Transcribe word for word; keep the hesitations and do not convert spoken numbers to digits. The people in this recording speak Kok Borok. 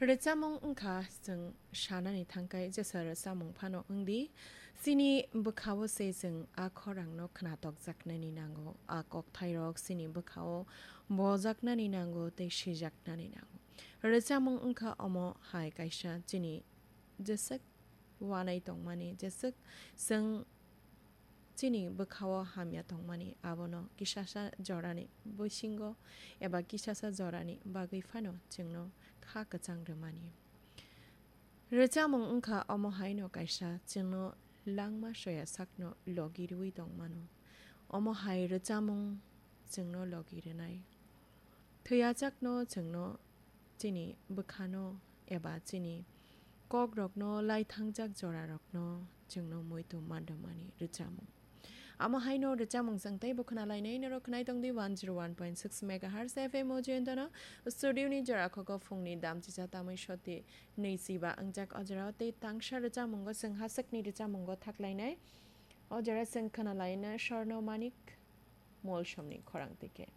Rwchapmung wngkha chwng sanani thangkai jesa rwchapmung phano wngdi, chini bwkhao se chwng a khorangno khnatok jaknani nango, a kokthairok chini bwkhao bojaknani nango tei sijaknani nango. Rwchapmung wngkha omo hai kaisa chini jeswk wanai tongmani, jeswk chwng chini bwkhao hamya tongmani, abono kisasa jorani bisingo eba kisasa jorani bagwi phano chwngno kha kwchang rwmani. Rwchapmung wngkha omo haino kaisa chwngno langma soya sakno logi rwui tongmano. Omo hai rwchapmung chwngno logi rwnai. Thwiyajakno chwngno chini bwkhano eba chini kokrokno laithangjak jorarokno chwngno muitu mandamani rwchapmung. Amo haino rwchapmung chwng teibo khwnalainai norok khwnai tongdi one zero one point six megahertz F M o jayantano. Studio ni jora khogo phungni damchisa tamwi soti nwichiba wngjak o jorao tei tangsa rwchapmungo chwng hasakni rwchapmungo thaklainai. O jora chwng khwnalaina Swarno Manik Molsomni khorang tike.